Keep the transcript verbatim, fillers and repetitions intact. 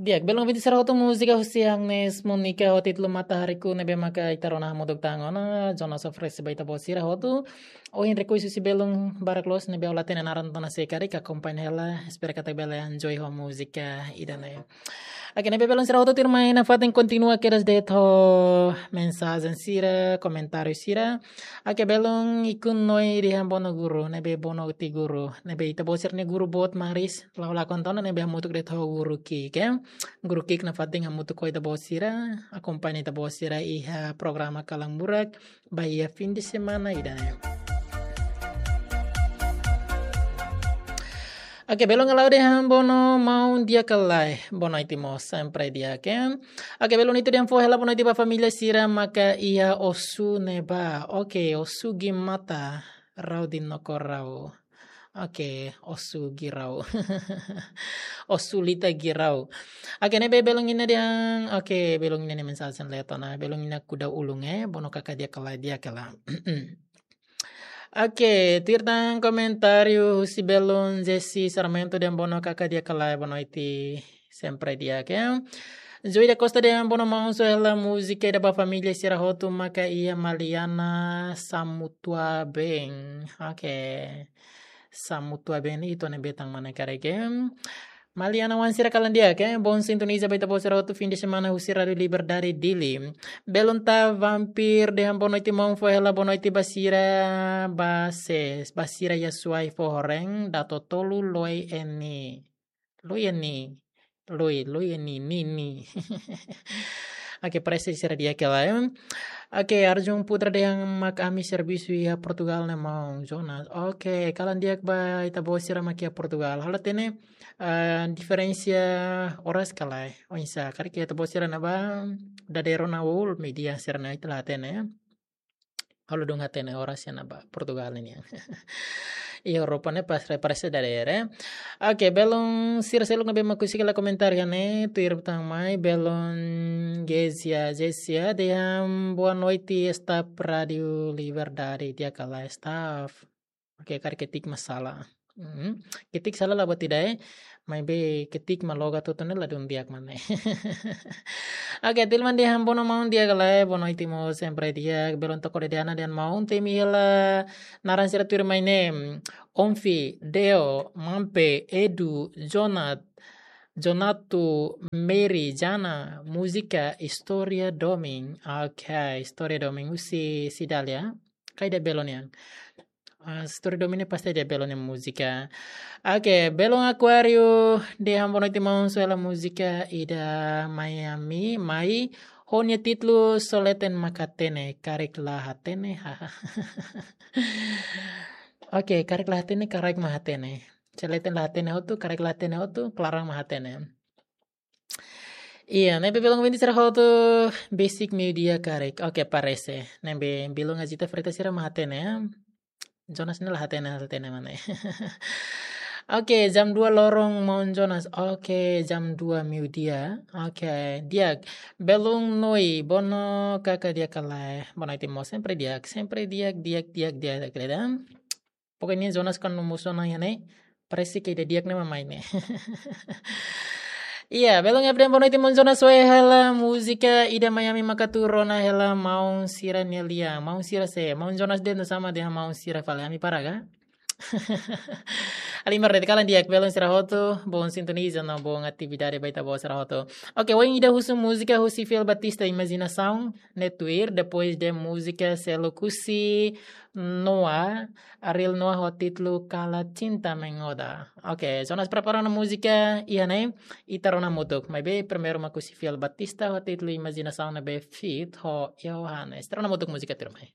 Di'ak, belun ouvinte sira hotu, múzika husi Agnes Monica ho títulu Matahariku ne'ebé maka ita rona hamutuk tan ona. Jonas oferese ba ita-boot sira hotu. Ohin request husi belun barak loos ne'ebé ha'u la hatene naran tiha ona, se karik akompaña hela, espera katak bele enjoy ho múzika ida-ne'e. Oke, ne'ebé belun sira hotu, tuirmai nafatin kontinua kedas de'it ho mensajen sira, komentáriu sira. Oke, belun Ikun Noi dehan bono guru, ne'ebé bono iti guru, ne'ebé ita-boot sira-nia guru boot maris, la'o lakon tiha ona, ne'ebé hamutuk de'it ho guru Kik, eh. Guru Kik nafatin hamutuk ho ita-boot sira, akompaña ita-boot sira iha programa Kalan Burak ba iha fim de semana ida-ne'e. Oke, belun Alau dehan bono maun di'ak ka lae, boa noite mós, sempre di'ak, eh. Oke, belun Ito dehan fó hela boa noite ba família sira maka iha Osu ne'ebá. Oke, Osu Gimata, Rau di Nokorau. Oke, Osu Girau. Osu Lita Girau. Oke, ne'ebé belun Ina dehan, oke, belun Ina nia mensajen leten ona, belun Ina Kuda Ulung, eh, bono kaka di'ak ka lae, di'ak ka lae. Oke, tuir tan komentáriu husi belun Jesse Sarmento dehan bono kaka di'ak ka lae, boa noite, sempre di'ak, eh. Joy da Costa dehan bono maun, só hela múzika ida ba família sira hotu maka iha Maliana Samutua Bem. Oke. Samutua Bem ne'e ita-nia bentang mana karik, eh. Maliana oan sira kalan di'ak, eh. Bom sintoniza ba ita-boot sira hotu fim de semana husi Rádio Liberdade Dili. Belun Ta Vampir dehan boa noite maun, fó hela boa noite ba sira, ba ses, ba sira iha Suai Fohoreng, Dato Tolu, Loi Eni. Loi Eni. Loi, Loi Eni, Nini. Oke, parese sira di'ak ka lae, eh. Oke, Arjun Putra dehan mak ami servisu iha Portugal ne'e maun Jonas. Oke, kalan di'ak ba ita-boot sira mak iha Portugal. Ha'u la hatene, eh, diferensa oras ka lae. Oinsá, karik ita-boot sira ne'ebá dadeer ona, ul meia-dia sira-ne'e, ita la hatene, eh. Ha'u la dún hatene oras iha ne'ebá Portugal nian. Iha Europa ne'e pas re-, parese dadeer, eh. Oke, belun sira seluk ne'ebé mak husik hela komentáriu iha ne'e, tuir tan mai, belun Gezia, Gezia dehan boa noite staff Rádio Liberdade, di'ak ka lae staff. Oke, karik ketik mak sala. Hmm. Ketik sala la buat ida, eh. Maibé ketik mak logat hotu ne'e la dún di'ak mak ne'e. Oke, Tilman dehan bono maun, di'ak ka lae, boa noite mós, sempre di'ak. Belun Toko Dedeana dehan maun, temi hela naran sira tuirmai ne'e. Onfi, Deo, Mampe, Edu, Jonat, Jonatu, Mary, Jana, múzika Istória Domin. Oke, Istória Domin husi Cidália. Ka ida belun nian. Ah, Istória Domin ne'e pasti ida belun nia múzika. Oke, belun Aquário dehan boa noite maun, só hela múzika ida Miami, mai ho nia títulu Só Leten Mak Hatene, Karik La Hatene, haha. Oke, Karik La Hatene, karik mak hatene. Só leten la hatene hotu, karik la hatene hotu, klaran mak hatene. Iya, ne'ebé belun ouvinte sira hotu, besik meiudia karik. Oke, parese. Ne'ebé belun Azita Freitas sira mak hatene, ya. Jonas ne'e la hatene, hatene mak ne'e. Oke, jam dua loron maun Jonas. Oke, jam dua meiudia. Oke, di'ak. Belun Noi, bono kaka di'ak ka lae. Boa noite mós, sempre di'ak. Sempre di'ak, di'ak, di'ak, di'ak, di'ak, di'ak. Pokoknya Jonas kan no musu na ya ne. Parese ke ida di'ak ne'e mak mai ne'e. Iya, belun F D M boa noite maun Jonas, só hela múzika ida Miami maka tuur ona hela maun sira-nia lian. Maun sira sé, maun Jonas de'it no sama dehan maun sira fali, ami para ka? Halimar de'it, kalan di'ak belun sira hotu, bom sintoniza no bom atividade ba ita-boot sira hotu. Oke, ohin ida husu múzika husi Fiel Batista, Imajinasaun, ne'e tuir, depois de múzika seluk husi Noah, Ariel Noah ho títulu Kala Cinta Mengoda. Oke, Jonas prepara ona múzika iha ne'e, ita rona hamutuk. Maibé primeiru mak husi Fiel Batista ho títulu Imajinasaun ne'ebé feat ho Yohanes. Ita rona hamutuk múzika tuirmai.